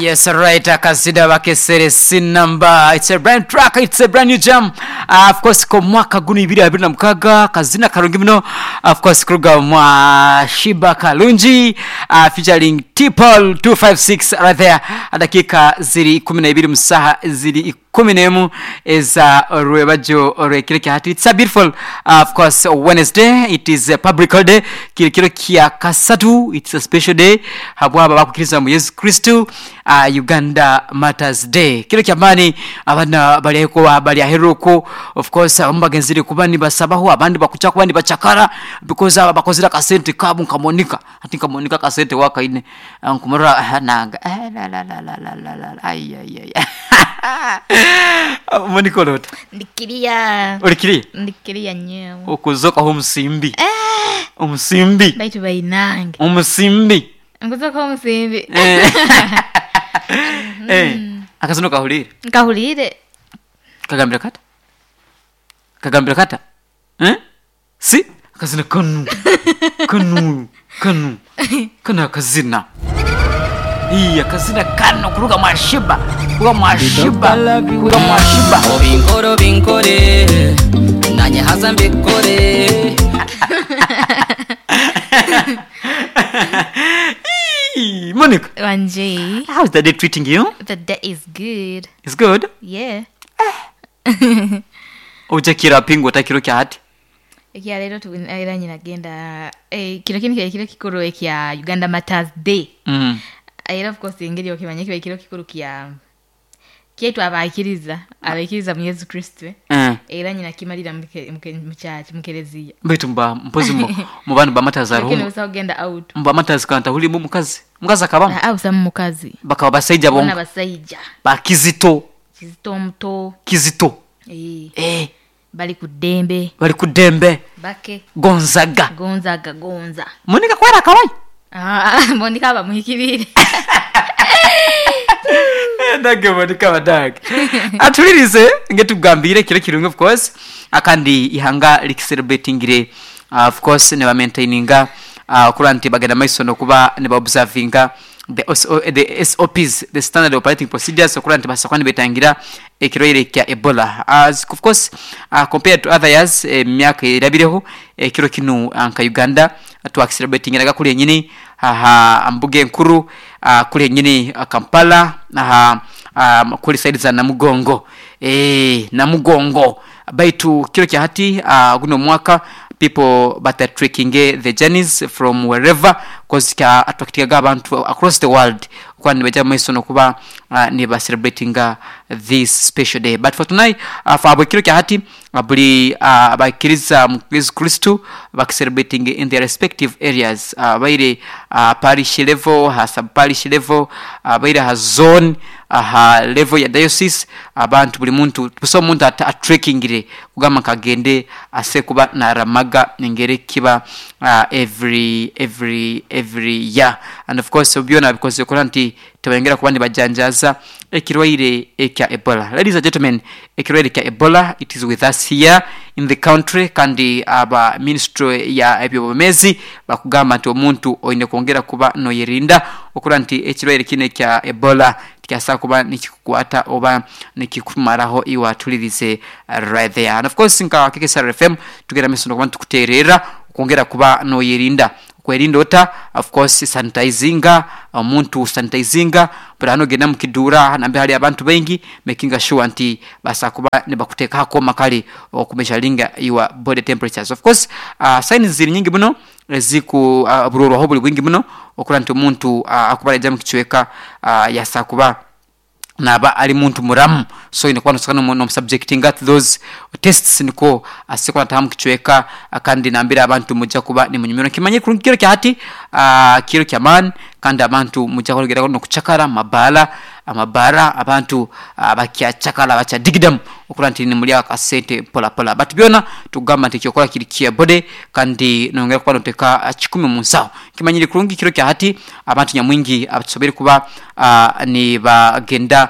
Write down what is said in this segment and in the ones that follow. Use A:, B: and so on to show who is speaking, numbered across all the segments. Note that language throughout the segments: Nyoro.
A: Yes, right. Akazida bakesere sinamba. It's a brand track, it's a brand new jam. Of course ko mwaka guno ibiri abiri na mukaga kazina karungi muno. Of course kuruga mwa Shiba Kalungi featuring T-Paul 256 right there. Dakika ziri 12 musaha ziri 11 eza rwebajo orwekiro kya hati. It's a beautiful of course Wednesday. It is a public holiday. Kiri kiro kya kasatu. It's a special day. Habwaba bakukiriza mu Yesu Kristo. Uganda Matters Day. Kiro kya mani abana bali bali aheruko. Of course abamu bagenzire kuba nibasabaho abandi bakucha kuba nibachakara because aba bakozera kasente kabu nkamonika ati nkamonika kasente wakaine nkumurora nanga la la la la la la la ay ay ay Monika olota
B: Ndikiria.
A: Olikiriya?
B: Ndikiria nyewe.
A: Okuzoka omusimbi. Omusimbi.
B: Baitu bainange.
A: Omusimbi.
B: Nkuzoka omusimbi.
A: Akazino kahulire?
B: Nkahulire.
A: Kagambira kata? Kagambira kata? Eh? Si? Akazina kanu. Kanu. Kanu. Kanu akazina. Iya, akazina kano kuruga mwashiba. Kuruga mwashiba. Kuruga mwashiba.
C: Obinkoro binkore nanye haza mbikore.
A: Monica.
B: Wanje.
A: How's the day treating you?
B: The day is good.
A: It's good?
B: Yeah.
A: Ojakira pingo takiro kya hati?
B: Ekya leero era nyina genda kino kini kiri kiro kikuru ekya Uganda Matters Day. Era of course engeri okimanya kiba ekiro kikuru kya kyaitu abaikiriza abaikiriza mu Yesu Kristo. Era nyina kimalira mu church mu kereziya.
A: Baitu mba mpozi mu bantu ba Matters
B: Lakini
A: arumu.
B: busa kugenda out.
A: Mba Matters kanta hulimu mukazi. Mukazi akabamu?
B: Ah, busa mukazi.
A: Bakaba basajja bonka.
B: Bona basajja.
A: Ba Kizito.
B: Kizito omuto.
A: Kizito.
B: Bali ku ddembe.
A: Bali ku ddembe.
B: Bake.
A: Gonzaga.
B: Gonzaga, gonza.
A: Monica kwera kawaii.
B: Monica bamuhikirire.
A: Ndage Monica badag. Atulirize ngetugambire kiro kirungi of course. Akandi ihanga likicelebratingire of course ne ba maintaininga kuranti bagenda maiso no kuba ne ba observinga the SOPs, the standard operating procedures, okuranti basakwani betangira ekirwaire kya Ebola. As of course compared to other years, myaka erabireho ekiro kinu nka Uganda twakicelebratingiraga kuli enyini aha mbuge nkuru kuli enyini Kampala aha kuli side za Namugongo. Namugongo baitu kiro kya hati guno mwaka people but are tracking the journeys from wherever cause ka attractinga abantu across the world kwani baja maiso no kuba ni ba celebrating this special day. But for tonight for abukiro kya hati buli abakiriza mu Yesu Kristo bak celebrating in their respective areas baire parish level, ha sub parish level, baire ha zone, ha level ya diocese. Abantu buli muntu buso muntu attrackingire kugamba kagende ase kuba naramaga ngere kiba every year. And of course byona because koranti tebengera kuba nibajanjaza ekirwaire ekya Ebola. Ladies and gentlemen, ekirwaire kya Ebola, it is with us here in the country. Kandi aba ministry ya ebyobumezi bakugamba nti omuntu oyine kwongera kuba noyerinda okura nti ekirwaire kine kya Ebola kyasa kuba nikikukwata oba nikikumaraho iwa tulirize right there. And of course nka KKSR FM tugera misono kuba tukuterera kwongera kuba noyerinda. Kwerinda ota of course sanitizinga omuntu sanitizinga but genda mukidura nambe hali abantu bengi making sure nti basa kuba nibakuteka hako makali okumeshalinga your body temperatures. Of course signs ziri nyingi muno ziku buroro buli bwingi muno okura nti omuntu akubala jamu kichweka yasa kuba naba ali muntu muramu. So inakuwa nosakana no subjecting at those tests niko asekwa tamu kichweka kandi nambira abantu mujja kuba ni munyumiro kimanye kiro kya hati kiro kya man kandi abantu mujja kologera no kuchakara mabala amabara abantu bakyachakala bacha digidam okura nti ni mulya akasente pola pola. But byona tugamba nti kyokola kiri kia bode kandi nongera kuba noteka 10 mu nsawo kimanyire kurungi kiro kya hati abantu nyamwingi abatsobere kuba ni bagenda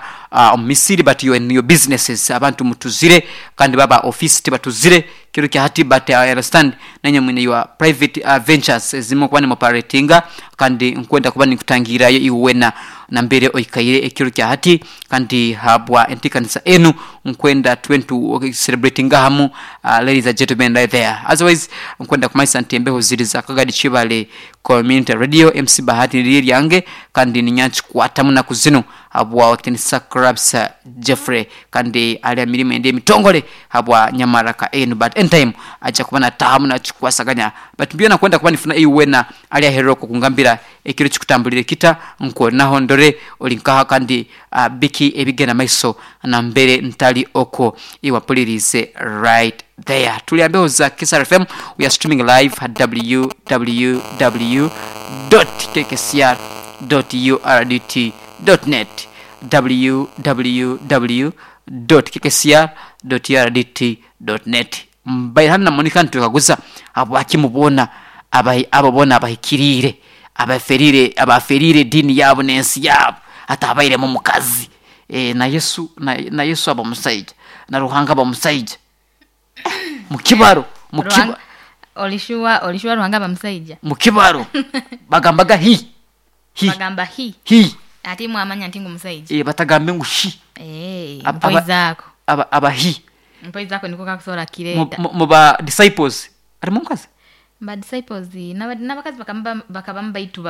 A: Misiri but you and your businesses abantu mutuzire kandi baba office tibatuzire kiro kya hati. But I understand nanye mwine your private ventures zimo kuba ni operatinga kandi nkwenda kuba nikutangirayo iwena. Nambere oikaire ekiro kya hati kandi habwa enteekaniza enu nkwenda tube nitu celebratinga hamu ladies and gentlemen right there. Otherwise nkwenda kumanyisa nti embeho ziri za Kagadi Kibale Community Radio, MC Bahati niryo eryange kandi ninya nkikwatamu naku zinu habwa wakitinisa Krabs Jeffrey kandi ali aha mirimo endi emitongole habwa nyamaraka enu, but anytime aja kuba natahamu nakikwasaganya. But byona kwenda kuba nifuna iwe wena ali aherera okwo kungambira ekiro kikutambulire kita nkonaho ndore oli nkaha kandi biki ebigenda maiso nambere ntali okwo iwapulirize right there. Tuli ambeho za Kisar FM, we are streaming live at www.kkcr.urdt.net, www.kkcr.urdt.net. Mbaire hanu na Monica nitwekaguza habwaki mubona abo bona abahikiriire, abaferire ediini yaabo n'ensi yaabo atabairemu mukazi. Na Yesu, na Yesu aba musaija, na Ruhanga aba musaija. Mukibaro,
B: Ruhanga, olishua Ruhanga aba musaija?
A: Mukibaro. Bagambaga hi. Hi.
B: Bagamba hi.
A: Hi.
B: Ate mwamanya nti ngu musaija.
A: Batagambe ngu shi.
B: Mpoi zako.
A: Aba hi.
B: Mpoi zako niko kakusobola kireeta.
A: Mu ba disciples. Ari mukazi?
B: Ba disciples, n'abakazi bakabamu baitu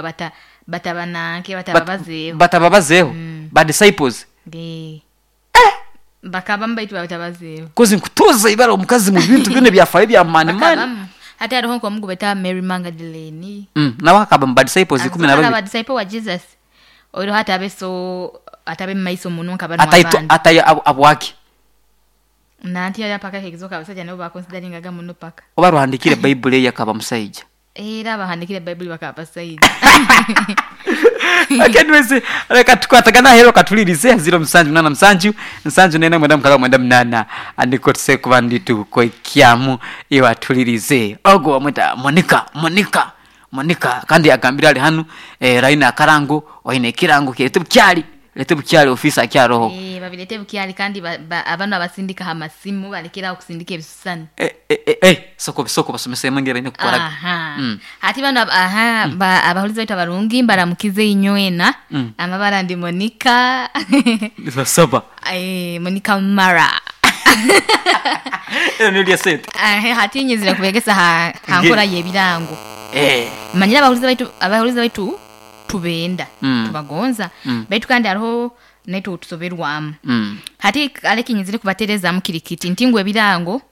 B: batabananke, batababazeeho.
A: Batababazeeho? Ba disciples?
B: Bakabamu baitu batabazeeho.
A: Kozi nkutuuza ibara omukazi mu bintu byona ebyafayo bya mani mani.
B: Bakabamu. Ate hariho nk'omugu beta Mary Magdalene.
A: Nabo akaba mu ba disciples ikumi na
B: Akaba
A: babiri.
B: ba disciple wa Jesus. Oiro hatabe so, atabe mu maiso muno nkaba
A: Ataito,
B: n'abandi.
A: atayo abwaki.
B: Nanti yali apaka ekizoka abasajja nabo bakonsideringaga muno paka.
A: Oba ruhandikire Bible ye akaba musaija.
B: Era abahandikire Bible bakaba basaija.
A: Okay, anyways, reka tukwatagana hero katulirize zero musanju munana musanju, nsanju nena mwenda mukaaga mwenda munana. Andiko tuse kuba ndi tukoikyamu iwatulirize. Ogo wamwita Monica, Monica, Monica kandi agambira ali hanu, raina akarango, oine ekirango kirete bukyali. Lete bukyali office akyaroho.
B: Babilete bukyali kandi abanu abasindika amasimu balekera okusindika ebisusani.
A: Soko bisoko basomesa emwenge baine kukora.
B: Aha. Ati bano aha, abahulizi baitu abarungi mbaramukize inywena. Amabara ndi Monica.
A: Saba.
B: Monica Mara.
A: Ndio sente.
B: Hati nyizira kubegesa ha nkora y'ebirango. Manyira abahulizi baitu tubenda, tubagonza. Baitu kandi hariho naitu tusoberwamu. Hati aleki nyizire kubaterezamu kirikiti nti ngu ebirango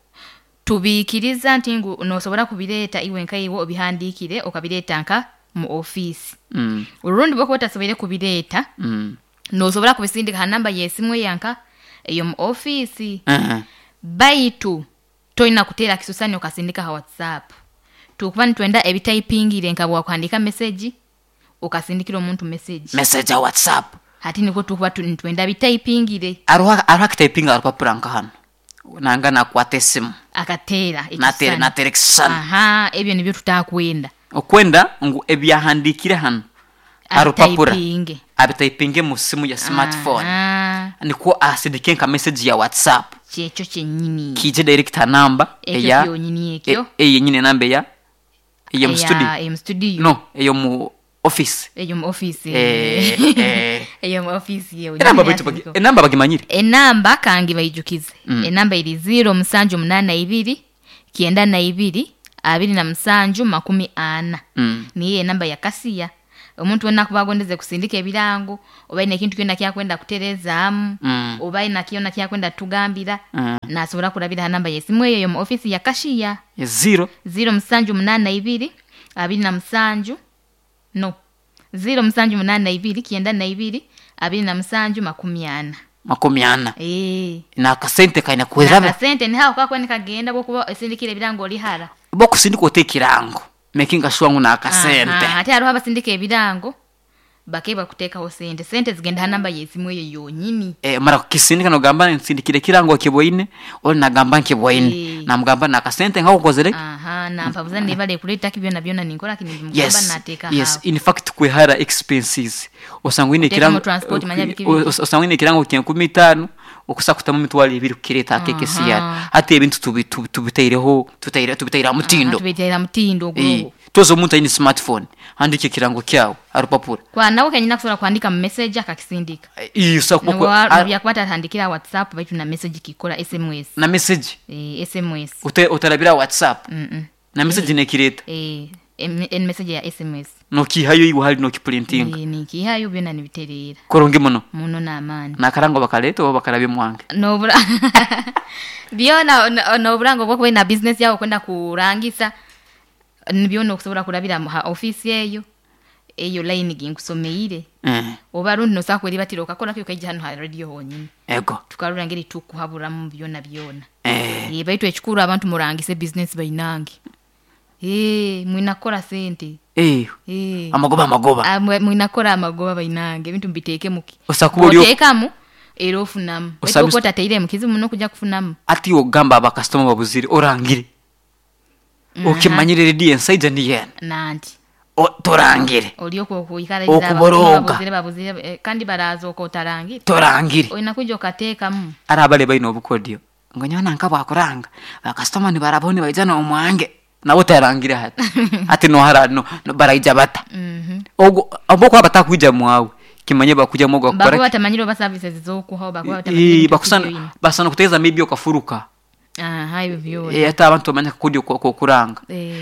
B: tubikiriza nti ngu nosobora kubireeta iwe nka iwe obihandikire okabireeta nka mu office. Urundi bwo otasoboire kubireeta, nosobora kubisindika ha namba y'esimu eyanka eyo mu office. Baitu toyina kuteera kisusani okasindika ha WhatsApp. Tukuba nitwenda ebitayipingire nka bwakuhandika message okasindikira omuntu message.
A: Message ya WhatsApp.
B: Hati niko tukuba nitwenda bitayipingire.
A: Aruha kitayipinga arupapura nka hano. Nanga nakwata esimu.
B: Akateera ekisani.
A: Nateera ekisani.
B: Aha, ebyo nibyo tutakwenda.
A: Okwenda ngu ebyahandikire hano. Arupapura.
B: Abitayipinge.
A: Abitayipinge mu simu ya smartphone.
B: Aha.
A: Niko asindike nka message ya WhatsApp.
B: Kyekyo kyennyini.
A: Kije direct namba
B: Ekyo
A: eya
B: kyonyini ekyo.
A: Eyo nyine namba eya eyo mu
B: Eya,
A: studio.
B: eyo mu studio.
A: No, eyo mu office.
B: Eyo mu office. Eyo mu office yewe.
A: Enamba
B: Nyine
A: baitu
B: yasindika.
A: enamba bagimanyire.
B: Enamba kange bayijukize. Enamba iri zero musanju munana ibiri, kienda na ibiri, abiri na musanju makumi ana. Niyo enamba ya kasiya. Omuntu wenna kuba agondeze kusindika ebirango, oba ine ekintu kyonna kyakwenda kuterezaamu, oba ina kyonna kyakwenda tugambira, nasobola kulabira ha namba y'esimu eyo mu office ya kashiya.
A: Ya zero.
B: Zero musanju munana ibiri, abiri na musanju, no. Zero musanju munana ibiri, kienda na ibiri, abiri na musanju makumi ana.
A: Makumi ana. Na akasente kaina kuweraba.
B: Na akasente ni hao kako nikagenda bwokuba esindikira ebirango oli hara.
A: Bo kusindika ote ekirango. Making sure ngu na akasente.
B: Aha, ate hariho abasindika ebirango bakebwa kuteekaho sente. Sente zigenda ha namba y'esimu eyo yonyini.
A: Mara kukisindika nogamba nsindikire ekirango kibwaine, oli nagamba nkibwaine. Namugamba na akasente nka ukozere.
B: Aha, nampabuza nebale kuleeta ki byona byona ninkora ki nimugamba nateeka
A: Yes,
B: hawo.
A: in fact kwehara expenses. Osanga ine
B: Kuteeka
A: ekirango
B: mu transport, manya biki biki.
A: osanga ine ekirango kya nkumi itaano, okusa kutamu emitwaro ebiri kukireeta akeke siyara. Hati ebintu tubitaireho, tubitaire ha mutindo.
B: Aha, tubitaire ha mutindo ogwo.
A: Toza omuntu aine smartphone, handika ekirango kyawe ha rupapura.
B: Kwa nawe kenyini akusobola kuhandika mu message akakisindika. Nobyakuba atahandikire ha WhatsApp baitu na message kikora SMS.
A: Na message?
B: SMS.
A: Otarabira WhatsApp? Na message nekireta?
B: En message ya SMS.
A: Nokihayo iwe hali nokiprintinga?
B: Nikihayo byona nibiterera.
A: Kurungi muno?
B: Muno n'amaani.
A: Nakarango bakaleta oba bakarabye mwange?
B: Nobura byona noburango bwokuba na business yawe kwenda kurangisa byona okusobola kurabira mu ha office eyo. Eyo line ginkusomeire. Oba rundi nosobola kweribatira okakora kyo kaija hano ha radio honyini.
A: Ego.
B: Tukarura ngeri tukuhaburamu byona byona. Baitu ekikuru abantu murangise business bainange. Mwina kukora sente.
A: Amagoba, amagoba.
B: Mwina kukora amagoba bainange, ebintu mbiteeke muki.
A: Osakuba oli
B: Oteekamu era ofunamu. Baitu okuba otateire mu kizibu muno kujja kufunamu.
A: Ati ogamba abakasitoma babuzire orangire. Okimanyire redi ensaija niyo eno.
B: Nanti.
A: Torangire.
B: Oli okwo okuikara
A: Okuboroga.
B: Babuzire, babuzire, kandi baraza oko otarangire.
A: Torangire.
B: Olina kujja okateekamu.
A: Ari abale baine obukodyo. Ngo nyowe nanka bwakuranga. Bakasitoma nibarabone nibaija n'omwange. Nabo tarangire hati. Ati nohara no, no baraija bata. Ogwo abo kwa batakwija mwawe. Kimanye bakuja mwogo akora.
B: Bakuba batamanyire oba services zokuha, bakuba batamanyire ebintu by'oyina.
A: Basana kuteeza maybe okafuruka.
B: Aha, ebyo byona.
A: Ate abantu bamanya kudi kuranga.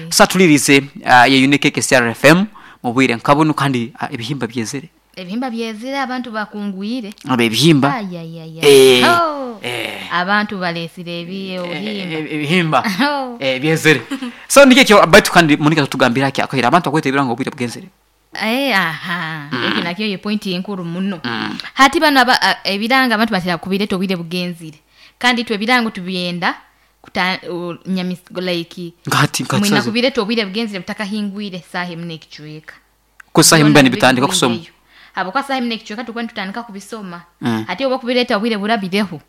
A: Sasa tulirize ye Unique KCR FM mu bwire nkabunu kandi ebihimba byezere.
B: Ebihimba byezere abantu bakungwire.
A: Abe ebihimba.
B: Ay, ay, ay, ay. Oh. Abantu balesire ebihimba.
A: Ebihimba.
B: Oh.
A: Byezere. So nike kyo baitu kandi Monica tutugambira ki akahira abantu akwete ebirango obwire bwenzere.
B: Aha. Ekyo nakyo ye point enkuru muno. Hati bano ebiranga abantu batera kubireta obwire bugenzire. Kandi twe ebirango tubyenda kuta, nyamis, like,
A: Ngati, ngati
B: mwina
A: sazi.
B: kubireta obwire bugenzire butakahingwire saha emwe n'ekicweka.
A: Ko saha emwe
B: Byona
A: nibitandika kusoma.
B: bigwireyo. Abo kwa saha emwe n'ekicweka tukuba nitutandika kubisoma. Ate oba kubireta obwire burabireho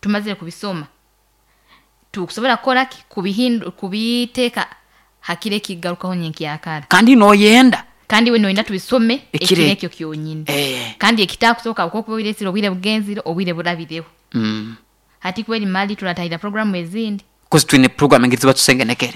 B: tumazire kubisoma. Tukusobola kukora ki? Kubiteeka hakire kigarukaho nyenkyakara.
A: Kandi noyenda.
B: Kandi we noyenda tubisome
A: Ekire.
B: ekire ekyo kyonyini. Kandi ekitakusoboka kuko kuba obireesire obwire bugenzire, obwire burabireho. Hati kweri mali turatahira programu ezindi.
A: Kozi twine program engeri ziba tusengenekere.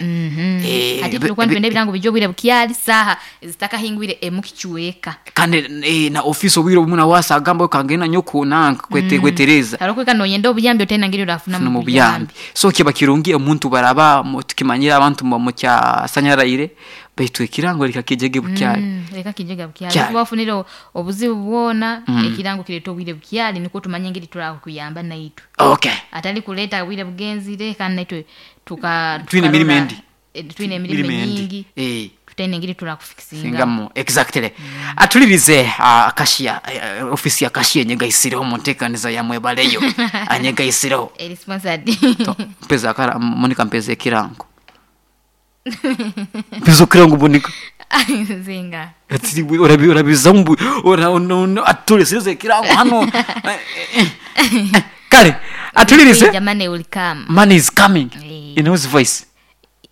B: Hati tulikuwa twende ebirango bijja obwire bukyali saha zitakahingwire emu kichweka.
A: Kandi na office obwire obumwe na wasa agamba kangena nyoko nanka kwetereza.
B: Haro kweka noyenda obuyambi otena ngeri orafuna
A: Funa
B: mu
A: mu buyambi. So kiba kirungi omuntu baraba tukimanyira abantu mu kya sanyaraire baitu ekirango lika kijege bukyali.
B: Leka kijege bukyali.
A: Kyali.
B: Kuba ofunire obuzibu bwona, ekirango kireeta obwire bukyali niko tumanye ngeri turakuyamba naitwe. Atali kuleta obwire bugenzire kandi naitwe
A: Twine emirimo
B: tukarora
A: endi.
B: Twine emirimo
A: Emirimo endi.
B: nyingi. Tutene ngeri turakufikisinga.
A: Singamu. Exactly. Atulirize, kashia, ofisi ya kashia nyegaisireho mu nteekaniza ya mwebaleyo. Anyegaisireho.
B: Eri sponsored.
A: To, mpeza akara, Monica mpeza ekirango. Mpeza ekirango Monica.
B: Zinga.
A: Ati, urabiza mbu, ora, ono, ono, atulirize ekirango hano. Kale, atulirize.
B: Money will come.
A: Money is coming. In whose voice?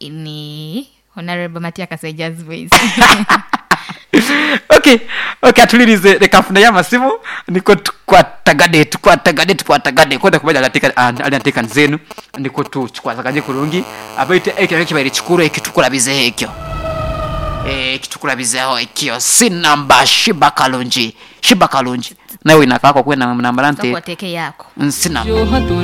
B: Ni Honorable Matia Kasaija's voice.
A: Okay, okay, atulirize reka nfune y'amasimu niko tukwatagane, tukwatagane, tukwatagane. Kwenda kumanya alianteeka nzenu niko tukikwataganye kurungi. Abaite ekyo nakyo kibaire kikuru ekitukurabizeho ekyo. Ekitukurabizeho ekyo. Sinamba Shiba Kalungi. Shiba Kalungi. Nawe inakako kwenda namba nte.
B: Soko teke yako.
A: Nsina.
C: Yo haturi